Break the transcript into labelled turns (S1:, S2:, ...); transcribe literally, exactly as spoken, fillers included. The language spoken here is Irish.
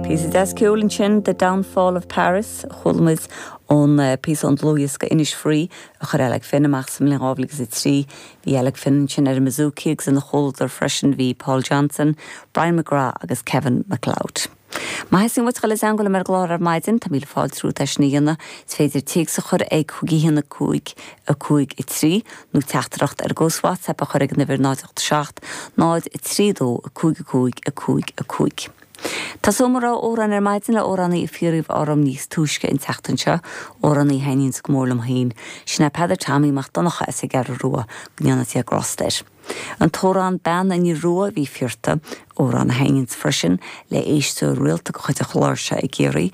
S1: Píosa deas ceoil ansin The Downfall of Paris chuala muid ón uh, píosa an dlúthdhiosca Innisfree a chuir Alec Finn amach sa mbliain dhá mhíle agus a trí bhí Alec Finn ansin ar an mbouzouki agus ina chomhluadar freisin bhí Paul Johnson, Brian McGrath agus Kevin MacLeod. Má theastaíonn uait dul i dteagmháil liom ar an gclár ar maidin tá míle fáilte romhat é sin a dhéanamh, is féidir téacs a chur ag cúig a haon a cúig a cúig a trí nó teachtaireacht ar gcós WhatsApp a chur ag an uimhir náid seacht náid a trí dó a cúig a cúig a cúig a cúig. Tá mo rogha amhrán ar maidin le amhránaí a fiafraíodh orm níos túisce an tseachtain seo amhránaí a thaitníonn go mór liom féin, sin é Peadar Tommy Mac Donncha as an gCeathrú Rua go ndéana Dia grásta air. An t-amhrán Bean an Fhir Rua a bhí fiafraithe amhrán a thaitníonn freisin le éisteoir rialta de chuid an chláir seo i gCiarraí